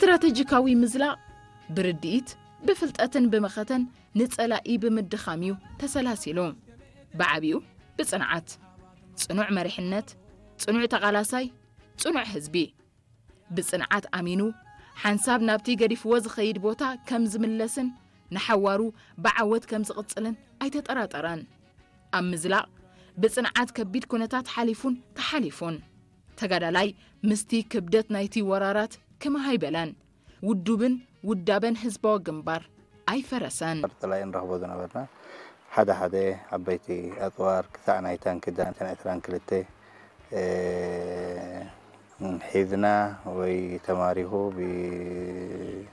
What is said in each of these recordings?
ስትራተጂካዊ ምዝላቕ ብርድኢት፣ ብፍልጠትን ብመኸተን ንጸላኢ ብምድኻም እዩ ተሰላሲሉ። ብዓቢኡ ብጽንዓት፣ ጽኑዕ መሪሕነት፣ ጽኑዕ ተቓላሳይ፣ ጽኑዕ ህዝቢ። ብጽንዓት ኣሚኑ፣ ሓንሳብ ናብቲ ገዲፍዎ ዝኸይድ ቦታ ከም ዝምለስን ንሓዋሩ ብዓወት ከም ዝቕጽልን ኣይተጠራጠረን። ኣብ ምዝላቕ ብጽንዓት ከቢድ ኩነታት ሓሊፉን ተሓሊፉን። ተጋዳላይ ምስቲ ክብደት ናይቲ ወራራት ክምሃ ኣይበለን። ውዱብን ውዳበን ህዝባዊ ግንባር ኣይፈረሰን። ጸላኢ ንረኽቦ ዝነበርና ሓደ ሓደ ዓበይቲ ኣጽዋር ክሳዕ ናይ ታንኪ ዳንተን ዕስራን ክልተ ሒዝና ወይ ተማሪኹ ብህዝባዊ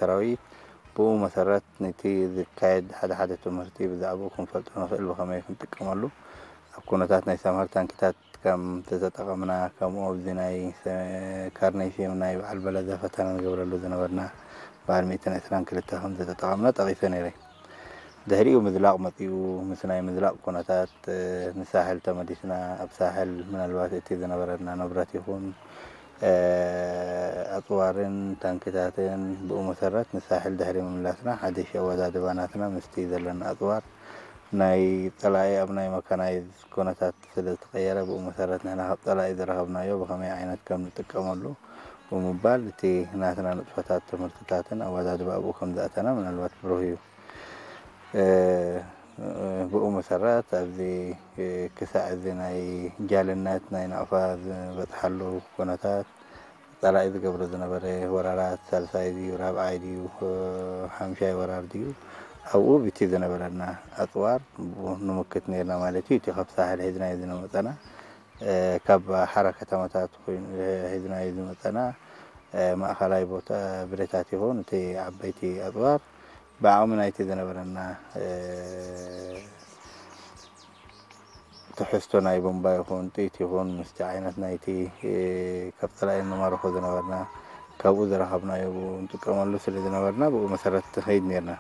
ሰራዊት ብኡ መሰረት ነቲ ዝካየድ ሓደ ሓደ ትምህርቲ ብዛዕባኡ ክንፈልጦ ንኽእል ብኸመይ ክንጥቀመሉ ኣብ ኩነታት ናይ ሰምሃር ታንኪታት ከም ዝተጠቐምና ከምኡ ኣብዚ ናይ ካርነይ ሴም ናይ በዓል በለዛ ፈተና ንገብረሉ ዝነበርና በዓል ሚእትን ዕስራን ክልተ ከም ዝተጠቐምና ጠቒሰ ነይረ። ድሕሪኡ ምዝላቕ መፂኡ ምስ ናይ ምዝላቕ ኩነታት ንሳሕል ተመሊስና ኣብ ሳሕል ምናልባት እቲ ዝነበረና ንብረት ይኹን ኣፅዋርን ታንክታትን ብኡ መሰረት ንሳሕል ድሕሪ ምምላስና ሓድሽ ኣወዳድባ ናትና ምስቲ ዘለና ኣፅዋር ናይ ፀላኢ ኣብ ናይ መካናይዝ ኩነታት ስለ ዝተቐየረ ብኡ መሰረት ንሕና ካብ ፀላኢ ዝረኸብናዮ ብኸመይ ዓይነት ከም ንጥቀመሉ ብምባል እቲ ናትና ንጥፈታት ትምህርትታትን ኣወዳድባ ኣብኡ ከም ዝኣተና ምናልባት ብሩህ እዩ። ብኡ መሰረት ኣብዚ ክሳዕ እዚ ናይ ጃልነት ናይ ናቕፋ ዝበፅሓሉ ኩነታት ፀላኢ ዝገብሮ ዝነበረ ወራራት ሳልሳይ ድዩ ራብዓይ ድዩ ሓምሻይ ወራር ድዩ ኣብኡ ብቲ ዝነበረና ኣፅዋር ንምክት ነርና ማለት እዩ። እቲ ካብ ሳሕል ሒዝናዮ ዝመፀና ካብ ሓራ ከተማታት ኮይኑ ሒዝናዮ ዝመፀና ማእኸላይ ቦታ ብረታት ይኹን እቲ ዓበይቲ ኣፅዋር ብዓቕሚ ናይቲ ዝነበረና ትሕዝቶ ናይ ቦምባ ይኹን ጥይት ይኹን ምስቲ ዓይነት ናይቲ ካብ ፀላኢ ንማርኾ ዝነበርና ካብኡ ዝረኸብናዮ ብኡ ንጥቀመሉ ስለ ዝነበርና ብኡ መሰረት ንኸይድ ነርና።